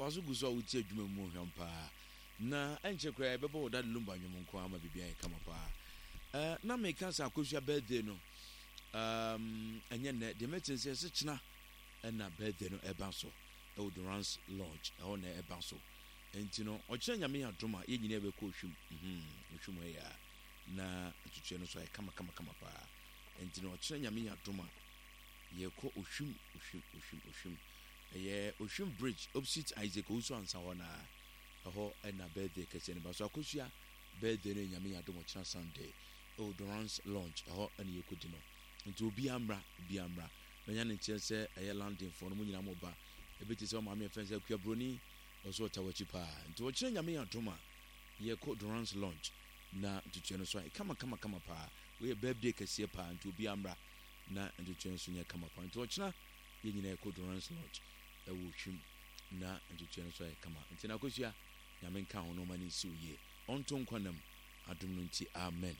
Waso gu so a wotie adwuma mu hwam paa. Na ɛnkyɛ koraa yɛbɛbɔ wo Daddy Lumba nnwom nko ara ma biribi ayɛ kama paa. Eh, na meka sɛ Akosua birthday no, um, ɛnyɛ nnɛ. Deɛ mɛte sɛ ɛsɛ kyena ɛna birthday no ɛba so ɛwɔ Durance Lodge, ɛhɔ na ɛba so. Nti no, ɔkyena Nyame yɛ adom a, yɛn nyinaa yɛbɛkɔ Ohwim. Mhm, Ohwim hɔ yɛ a, na ntutuɛ no so ayɛ kama kama kama paa. Nti no, ɔkyena Nyame yɛ adom a, yɛkɔ Ohwim, Ohwim, Ohwim, Ohwim. Ɛyɛ Ohwim Bridge, opposite Isaac Owusu Ansah hɔ naa. Ɛhɔ na birthday kɛseɛ no ba so. Akosua birthday no yɛ Nyame yɛ adom ɔkyena Sunday ɛwɔ Durance Lounge ɛhɔ na yɛkɔdi no. Nti obiara mmra, obiara mmra. Manya ne nteɛ sɛ ɛyɛ London foɔ no mo nyinaa mo ba. Ebi te sɛ ɔmaame yɛfrɛ no sɛ Akua Broni ɔso ɔta w'akyi paa. Nti ɔkyena Nyame yɛ adom a yɛkɔ Durance Lounge na ntutuɛ no so ayɛ kama kama kama paa. Wei yɛ birthday kɛseɛ paa nti obiara mmra na ntutuɛ no so nyɛ kama paa. Nti ɔkyena yɛn nyinaa yɛkɔ Durance Lodge ɛwɔ Hwim. Na ntotoeɛ no nso ayɛ kama. Nti na Akosua, Nyame nka ho na ɔma no nsi wo yie. Ɔnto nkwa nna mu, adom no nti, amen.